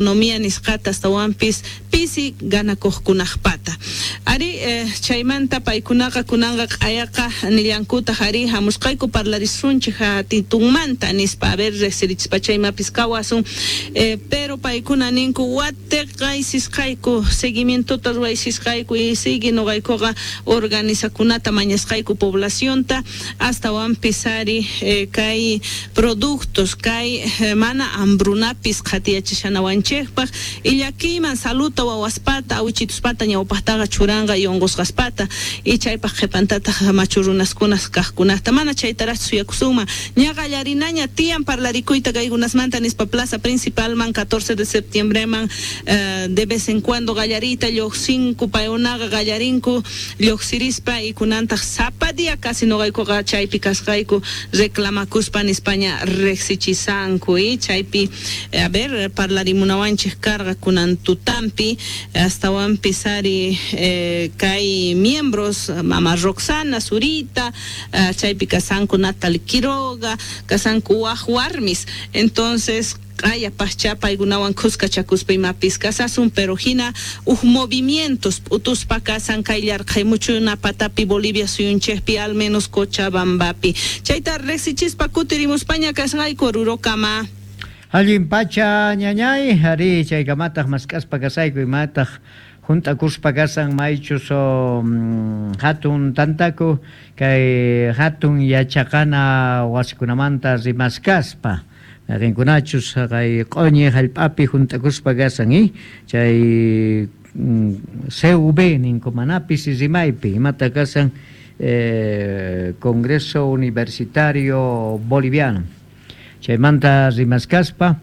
Economía nisqata astawanpis pisi ganakuqkunaqpata ari chaymanta paykunaqa kunanqa q'ayaqa nillankutaq ari hamusqayku parlarisunchik hatitunmanta nispa a ver riqsirichispacha imapis kawasun pero paykuna ninku watiqaysisqayku seguimientota ruwaysisqayku y sigue nuqaykuqa organizakunata mañasqayku poblacionta astawanpis ari kay productos kay mana hambrunapis qhatiyachishanawanchikpaq y llakiyman saluta wawaspata awichituspata ñawpaqtaqa churanqa y unqusqaspata y chaypaq qhipantataq machu runaskunas kaqkunata mana chaytaraqchu suyakusunman ña qallarinaña tiyan parlarikuyta kaykunasmanta nispa plaza principalman 14 de septiembreman de vez en cuando qallariyta lluqsinku paykunaqa qallarinku lluqsirispa y kunantaq sapa día casi nuqaykuqa chaypi kasqayku reclamakuspa nispaña riqsichisanku y chaypi a ver parlarimunawanchik karqa kunan tutampi astawanpis ari kay miembros mama Roxana Zurita chaypi kasanku Natalie Quiroga kasanku waq warmis entonces q'aya paqcha paykunawan khuskachakuspa imapis kasasun pero hina huk movimientos p'utuspa kasan kay llarqhaymuchuna patapi Bolivia suyunchikpi al menos Cochabambapi chayta riqsichispa kutirimuspaña kasqayku Orurokama. Allin pacha ñañay, ari chaykamataq mask'aspa kasayku imataq hunt'akuspa kasan maychus hatun tantaku kay hatun yachaqana wasikunamanta rimaskaspa mayqinkunachus kay q'uñi hallp'api hunt'akuspa kasan chay CV ninku manapis rimaypi imata kasan Congreso Universitario Boliviano chaymanta rimaskaspa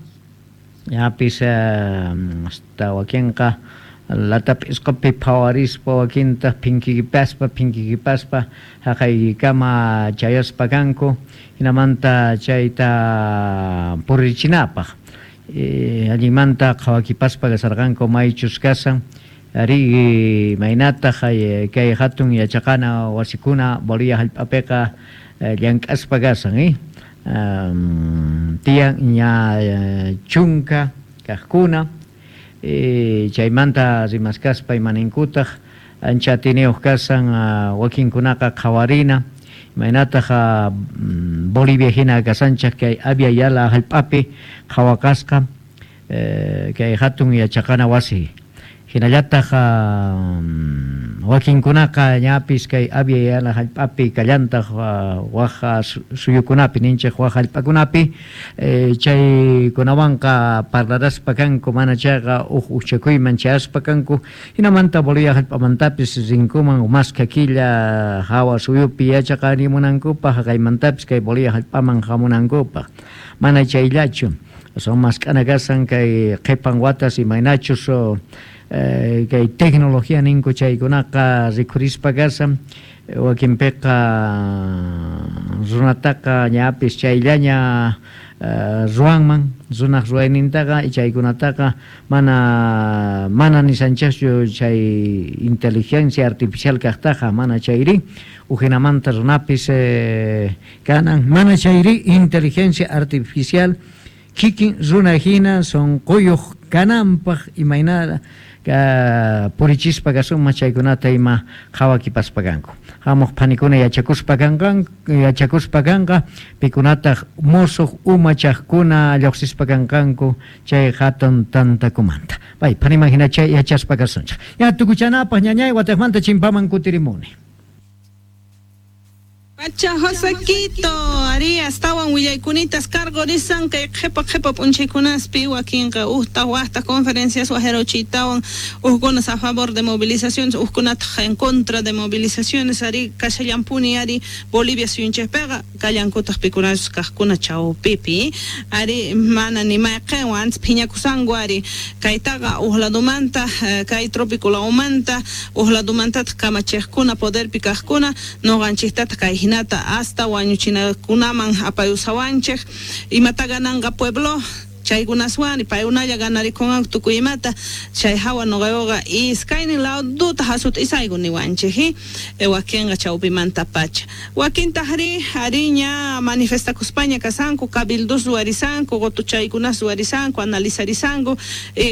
ñapis hasta wakinqa latap'isqapi phawarispa wakintaq phinkikipaspa haqaykama chayaspa kanku hinamanta chayta purichinapaq allinmanta qhawakipaspa kasarqanku maychus kasan ari maynataq kay hatun yachaqana wasikuna Bolivia hallp'apiqa llank'aspa kasan tiyan ña chunka kaqkuna chaymanta rimaskaspa imaninkutaq ancha atiniyuq kasan wakinkunaqa qhawarina imaynataq Bolivia hina kasanchaq kay Abya Yala hallp'api qhawakasqa kay hatun yachaqana wasi hinallataq wakinkunaqa ñapis kay Abya Yala hallp'api kallantaq waq suyukunapi ninchik waq hallp'akunapi chaykunawanqa parlaraspa kanku mana chayqa huk uchakuyman chayaspa kanku hinamanta Bolivia hallp'amantapis rinkuman maskha killa hawa suyupi yachaqarimunankupaq haqaymantapis kay Bolivia hallp'aman hamunankupaq mana chayllachu son mask'ana kasan kay qhipan watas imaynachus kay tecnología ninku chaykunaqa rikhurispa kasan wakinpiqa runataqa ñapis chayllaña ruwanman runaq ruwaynintaqa chaykunataqa mana nisanchikchu chay inteligencia artificial kaqtaqa mana chayri ujinamanta runapis kanan mana chayri inteligencia artificial kikin runa hina sunquyuq kananpaq imayna purichispa kasunman chaykunata ima qhawakipaspa kanku hamuq phanikuna yachakuspa kanqa pikunataq musuq umachaqkuna lluqsispa kanqanku chay hatun tantakumanta pay phaniman hina chay yachaspa kasunchik ña tukuchanapaq ñañay wataqmanta chimpaman kutirimuni. Pacha Josequito, ari astawan willaykunitas cargo risan kay qhipa qhipa p'unchaykunaspi wakinqa uqta waqta conferencias wajerochitawan uqkunas a favor de movilizaciones uqkunataq en contra de movilizaciones ari kashallampuni ari Bolivia suyunchikpiqa kallankutaq pikunachus kaqkuna chawpipi ari mana ni mayqinwan antes phiñakusanku ari kaytaqa uq ladumanta kay trópico lawmanta uq ladumantataq kamachiqkuna poderpi kaqkuna nuqanchiktataq kay hinata hasta wañuchinakunaman apayusawanchik imata gananqa pueblo Chaykunaswan paykunalla ganarikunqanku tukuy imata. Chay hawa nuqayuqa iskaynin laduta hasut'isayku niwanchik, wakinqa chawpimantapacha. Wakintaqri ari ña manifestakuspaña kasanku, cabildos ruwarisanku, qutuchaykunas ruwarisanku, analizarisanku.